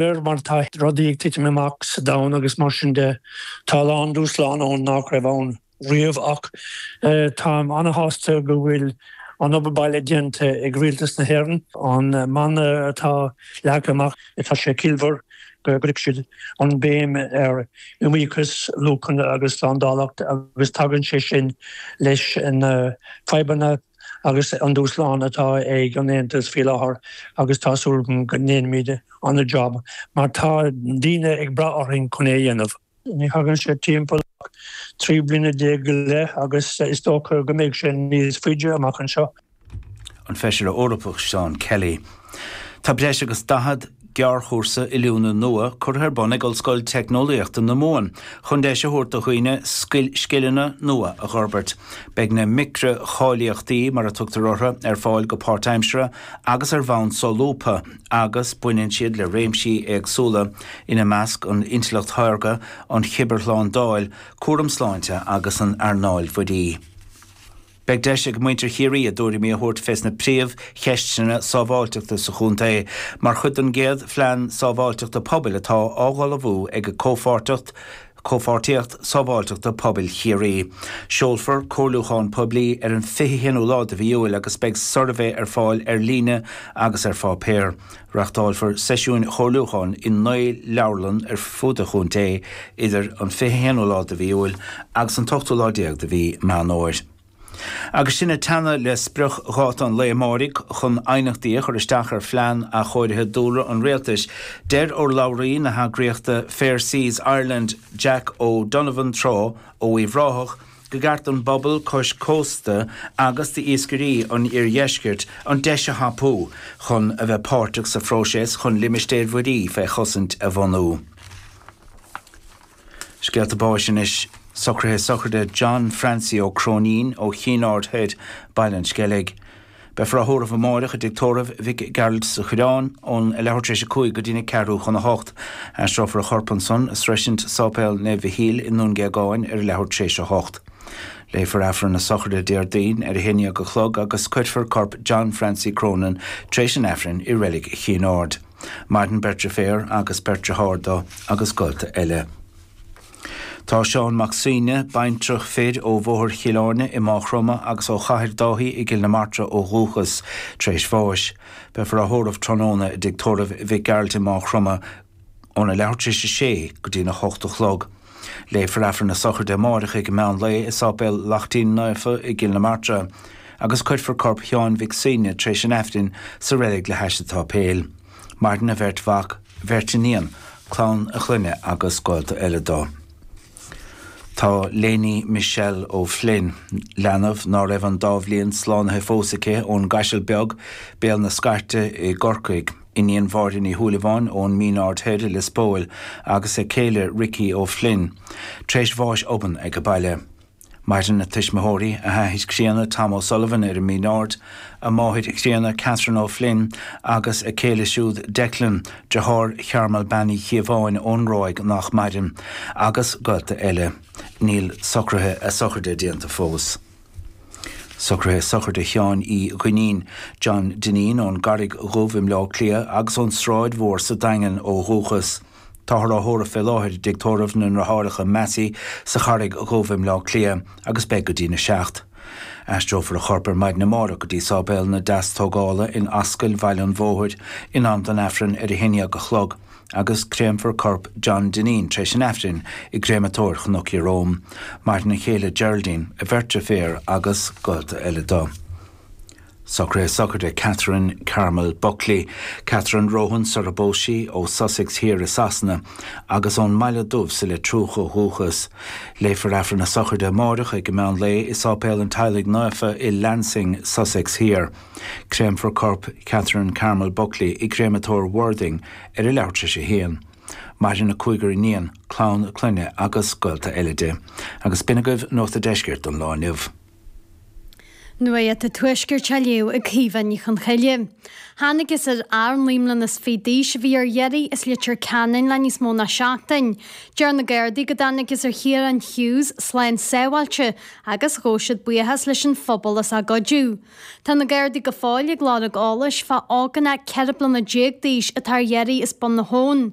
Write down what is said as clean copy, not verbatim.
Réir mar atá rudaí ag titim amach sa domhan agus mar sin de, tá a lán dúshlán ann nach raibh ann riamh ach táim an-shásta go bhfuil an obair baile déanta ag Rialtas na hÉireann. An mana atá leagtha amach, tá sé ciallmhar go gcuirfidh siad an béim ar iomaíochas, luachanna agus slándálacht agus tagann sé sin leis na fadhbanna agus an dúshlán atá ag an Aontas faoi láthair agus tá súil agam go ndéanfaimid an-jab mar tá daoine ag brath orainn chun é a dhéanamh. Ní thagann sé timpeall ach 13 bliana go leith agus is dócha go mbeidh sé níos faide amach anseo. An Feisire Eorpach Seán Kelly. Tá breis agus 40 gearrchúrsa oiliúna nua curtha ar bun ag Ollscoil Teicneolaíochta na Mumhan chun deis a thabhairt do dhaoine scileanna nua a dh'fhorbairt. Beidh na micreacháilíochtaí, mar a tugtar orthu, ar fáil go páirtaimseartha agus ar bhonn solúbtha agus baineann siad le réimsí éagsúla, ina measc an intleacht shaorga, an chibearshlándáil, cúram sláinte agus an earnáil mhuirí. Beidh deis ag muintir Chiarraí a dtuairimí a thabhairt fés na príomh cheisteanna sábháilteachta sa chontae mar chuid den gcéad Phlean Sábháilteachta Pobail atá á dh'ullmhú ag Comhpháirteacht Comhpháirtíocht Sábháilteachta Pobail Chiarraí. Seolfar comhairliúchán poiblí ar an 21ú lá de mhí Iúil agus beidh suirbhé ar fáil ar líne agus ar pháipéar. Reachtáilfear seisiúin chomhairliúcháin i 9 leabharlann ar fud an chontae idir an 21ú lá de mhí Iúil agus an t-ochtú lá déag de mhí Meán Fhómhair. Agus sinn ag teannadh le spriocdháta an lae amáirigh chun aighneachtaí a chur isteach ar Phlean Athchóirithe Dúlra an Rialtais, deir urlabhraí na heagraíochta Fair Seas Ireland, Jack O'Donovan Trá ó Uíbh Ráthach, go gceart don bpobal cois cósta agus d'iascairí an iardheiscirt an deis a thapú chun a bheith páirteach sa phróiseas chun limistéir mhuirí fé chosaint a bhunú. Scéalta báis anois. Socruithe sochraide John Francie Ó Cróinín ó Chinn Aird Thoir, Baile an Sceilg. Beifear á thórramh amáireach i dTigh Tórraimh Mhic Gearailt sa Choireán ón a leathuair tar éis a 5 go dtína ceathrú chun a hocht. Aistreofar a chorp ansan a sroisint Sáipéal Naomh Mhichíl i nDún Géagáin ar a leathuair tar éis a hocht. Léifear Aifreann na sochraide Déardaoin ar a haon dhéag a chlog agus cuirfear corp John Francie Cronin tar éis an Aifrinn i Reilig Chinn Aird. Maireann beirt deirféar agus beirt deartháir dó agus gaolta eile. Tá Seán Mac Suibhne, baintreach fir ó Bhóthar Chill Airne i Máigh Chromtha agus ó Chathair Dáithí i gCill na Martra ó dhúchas, tar éis bháis. Beifear á thórramh tráthnóna i dTigh Tórraimh Mhic Gearailt i Máigh Chromtha óna leathuair tar éis a sé go dtína hocht a chlog. Léifear Aifreann na sochraide amáireach ag meán lae i Sáipéal Lachtaín Naofa i gCill na Martra agus cuirfear corp Sheáin Mhic Suibhne tar éis an Aifrinn sa reilig le hais an tsáipéil. Maireann a bheirt mhac, bheirt iníon, clann a chlainne agus gaolta eile dó. Tá Léiní Michelle O'Flynn, leanbh ná raibh an dá bhliain slánaithe fós aici ón gCaiseal Beag, Béal na Scairte i gCorcaigh, iníon Mháire Ní Shúilleabháin ón Mín Aird Thoir i Lios Póil agus a céile Ricky O'Flynn, tar éis bháis obann ag a baile. Maireann a tuismitheoirí, a hathair críonna Tom O'Sullivan ar an Mín Aird, a máthair chríonna Catherine O'Flynn agus a céile siúd Declan, deartháir Chearmail Bean Uí Chíobháin ón Róig nach maireann, agus gaolta eile. Níl socruithe a sochraide déanta fós. Socruithe sochraide Sheáin Uí Dhuinnín, John Dineen ón gCarraig Dhubh i mBleá Cliath agus ón Sráid Mhór sa Daingean ó dhúchas. Táthar á thórramh fé láthair i dTigh Tórraimh na nDeartháireacha Massey sa Charraig Dhubh i mBleá Cliath agus beidh go dtína seacht. Aistreofar a chorp ar maidin amárach go dtí Sáipéal na Deastógála in Ascaill Bhaile an Bhóthair in am don Aifreann ar a haon dhéag a chlog agus créamfar corp John Dineen tar éis an Aifrinn i gCréamatóir Chnoc Ieróm. Maireann a chéile Geraldine, a bheirt deirféar agus gaolta eile dó. Socruithe sochraide Catherine Carmel Buckley, Catherine Rohan sar a bpós sí, ó Sussex Thiar i Sasana, agus ón mBaile Dubh sa Leitriúch ó dhúchas. Léifear Aifreann na sochraide amáireach ag meán lae i Sáipéal an Teaghlaigh Naofa i Lancing, Sussex Thiar. Créamfar corp Catherine Carmel Buckley i gCréamatóir Worthing ar a leathuair tar éis a haon. Maireann a cúigear iníon, clann a clainne agus gaolta eile di. Agus b'in agaibh Nuacht a' Deiscirt don lá inniu. Nuacht an Tuaiscirt á léamh ag Caoimhe Ní Chonchoille. Thángthas ar fhear 29 mbliana d'aois a bhí ar iarraidh as Leitir Ceanainn le níos mó ná seachtain. Deir na Gardaí go dtángthas ar Chiarán Hughes slán sábháilte agus ghabh siad buíochas leis an phobal as a gcuidiú. Tá na Gardaí go fóill ag lorg eolais fá ógánach 14 bliana d'aois atá ar iarraidh as Bun na hAbhann.